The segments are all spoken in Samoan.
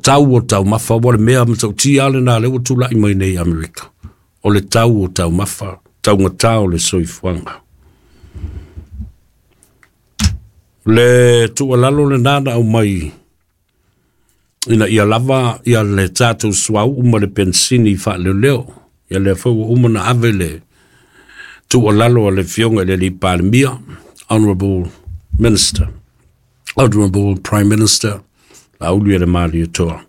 tau o taumafa, ua le mea matautia lena lea ua tulai mai nei i Amerika, o le tau o taumafa, taugata o le soifuaga. Le tuualalo lena na aumai ina ia lava ia le tatou suauu ma le penisini faaleoleo. Ia lea foi ua uma na ave le tuualalo a le Afioga i le alii Palemia, Honourable Minister, Honourable Prime Minister, Laaulialemalietoa,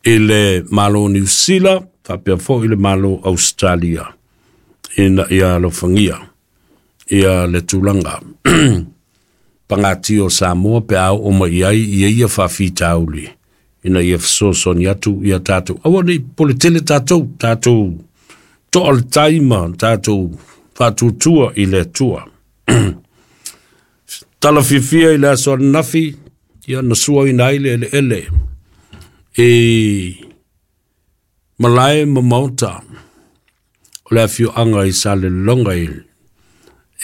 i le Malo Niu Sila, faapea foi i le Malo Ausetalia, ina ia alofagia ia le tulaga pagatia o Samoa pe a oo mai i ai ia ia faafitauli, ina ia fesoasoani atu ia tatou. Aua ne i popole tele tatou, tatou toa le tai ma tatou faatuatua i le Atua. Tala fiafia i le aso ananafi, ia na suaina ai le eleele i malae ma maota o le afioaga i Salelologa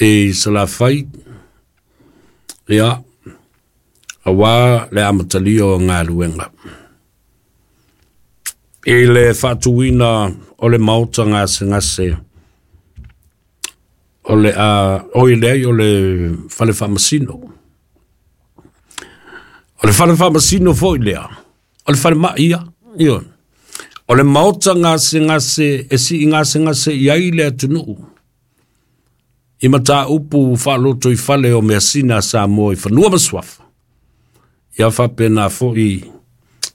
i Salafai, ia, aua le amatalia o galuega. I le faatuina o le maota gasegase o le a oi leai o le fale faamasino. O le fale faamasino foi lea, o le falemai ia, ioe. O le maota gasegase e sii gasegase i ai le atunuu i mataupu faalotoifale o measina a Samoa i fanua ma suafa. Ia faapena foi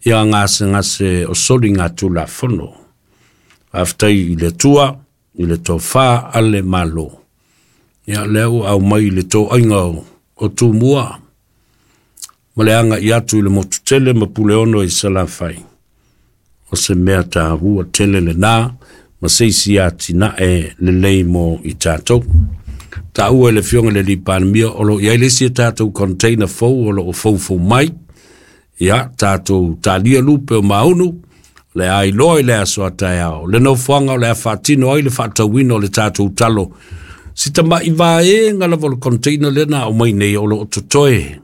ia gasegase o soligatulafono. Faafetai i le Atua i le tofa a le Malo. Ia lea ua aumai i le toaiga o Tumua ma le agai atu i le motu tele ma Puleono i Salafai. O se mea taua tele lena ma se isi atinae lelei mo i tatou. Taua e le Afioga i le alii Palemia o lo o i ai le isi a tatou container fou o lo o foufou mai. Ia, tatou talia lupe o maunu, le a iloa i le aso a taeao. Le nofoaga o le a faatino ai le faatauina o le tatou talo. Si tamai vaega lava o le container lea na aumai nei o lo o totoe.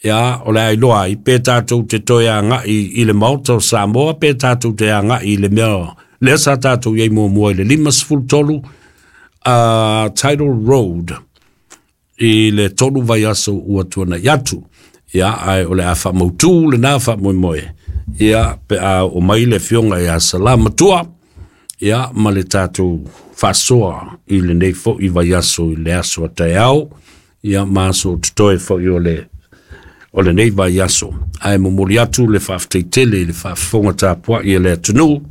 Ia, o le a iloa ai pe tatou te toe agai i le Maota o Samoa, pe tatou te agai i le mea lea sa tatou i ai muamua i le 53 Title Road i le 3 vaiaso ua tuanai atu. Ia, ae o le a faamautu lena faamoemoe. Ia, pe a oo mai le Afioga ia Salamatua, ia, ma le tatou faasoa i lenei foi vaiaso i le aso a taeao, ia ma aso o totoe foi o le lenei vaiaso. Ae momoli atu le faafetai tele i le faafofoga tapuai a le atunuu.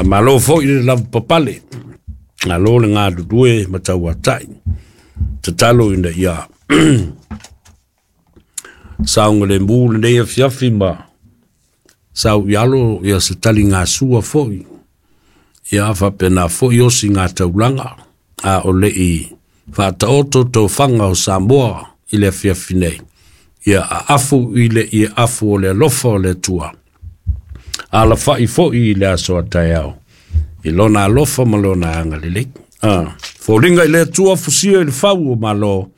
Malo foi le lavapapale, malo le galulue ma tauatai. Tatalo ina ia saogalemu lenei afiafi ma sau i alo ia se taligasua foi. Ia faapena foi osi ngā taulaga a o lei faataoto tofaga o Samoa i le afiafi nei. Ia aafu i le ia afu o le alofa o le Atua. Alafai foi i le aso a taeao i lona alofa ma lona agalelei. Foliga i le Atua fusia i le fau o Malo,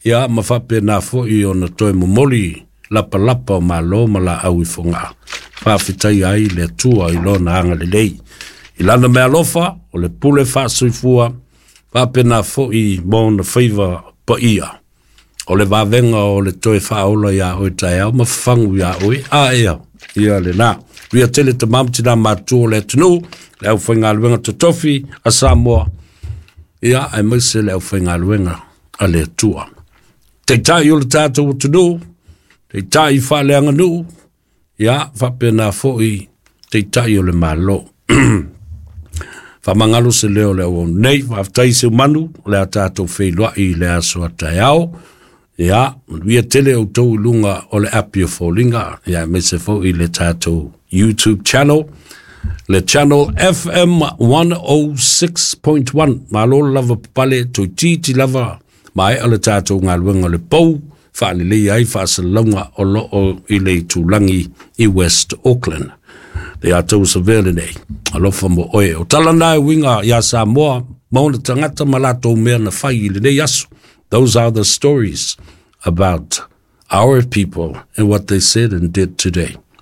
ia ma faapena foi ona toe momoli lapalapa o Malo ma laau i Fogaa. Faafetai ai le Atua i lona agalelei. I lana mealofa o le pule faasoifua, faapena foi ma ona faiva paia. O le vavega o le toe faaola ia oe taeao ma fafagu ia oe a ea ia lena. Ria tele tamamu tina matua o le atunuu, le aufaigaluega totofi a Samoa, ia aemaise le aufaigaluega a le Atua. Taitai o le tatou atunuu, taitai faaleaganuu, ia faapena foi taitai o le Malo. Faamagalo se leo o le auauna nei, faafetai se manu o le a tatou feiloai i le aso a taeao. Ia, manuia tele outou i luga o le api o foliga, ia aemaise foi le tatou YouTube channel, le channel FM 106.1. Malo le lava papale, toeitiiti lava maea le tatou galuega o le pou, faalelei ai faasalalauga o loo i le itulagi i West Auckland. Le atou savea lenei, alofa mo oe. O tala na e uiga ia Samoa, ma ona tagata ma latou mea na fai i lenei aso. Those are the stories about our people and what they said and did today.